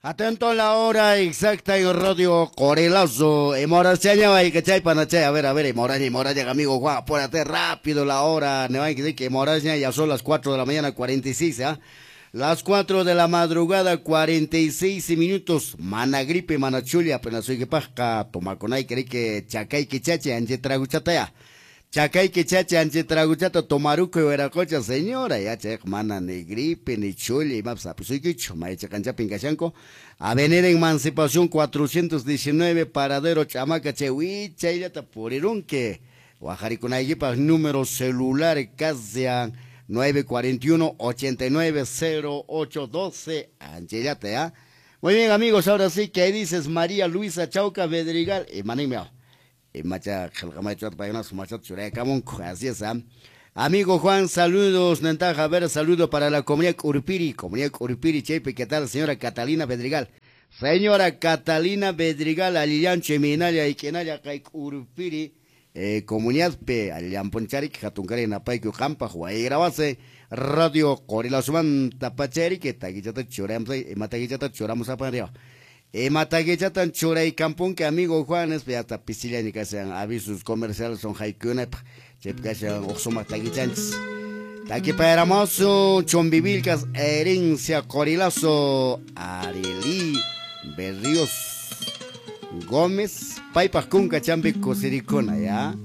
Atento a la hora exacta en Radio Corelazo. Emoraseña, y que chay panachay. A ver, Emoraña, Emoraña, amigo Juan, apúrate rápido la hora. Ne van que Emoraña, ya son las 4 de la mañana, 46, ¿ah? Las 4 de la madrugada, 46 minutos. Mana gripe, mana chulia, apenas soy que paja, toma con ahí, que chacay que chache, anche traguchataya. Chacay que chache, anche traguchata, tomaruco y veracocha, señora, ya che, mana ni gripe, ni chulia, y más, pues soy quicho, maicha cancha pincachanco. Avenida Emancipación 419, Paradero Chamaca, che, huicha, y ya te purirunque. Guajaricunayquipa, número celular, casi 941 89 08 12. Anchellate, ¿ya? Muy bien, amigos, ahora sí que ahí dices María Luisa Chauca Bedrigal. Y manimeo. Y macha, así es, ¿ah? Amigo Juan, saludos, Nentaja, a ver, saludo para la comunidad Urpiri, Chepe, ¿qué tal, señora Catalina Bedrigal? Señora Catalina Bedrigal, Alillanche, Minaya y Kenaya, Urpiri, comunidad P, Alillamponcharik, Jatuncari, Napayku, Jampa, Huaygrabase, Radio Corilasuman, Tapacheri, que taguichata churamos, mataguichata churamos a panrio. Mataguichatan churay campunque, amigo Juan, es hasta pisilla ni que sean avisos comerciales son haikuna, chepcashan oxoma taguichanchis. Taquipayaramoso, Chombivilcas, herencia Corilazo, Arelí, Berríos, Gómez, Paipas Cunca, Chambi, Cosiricona, ¿ya?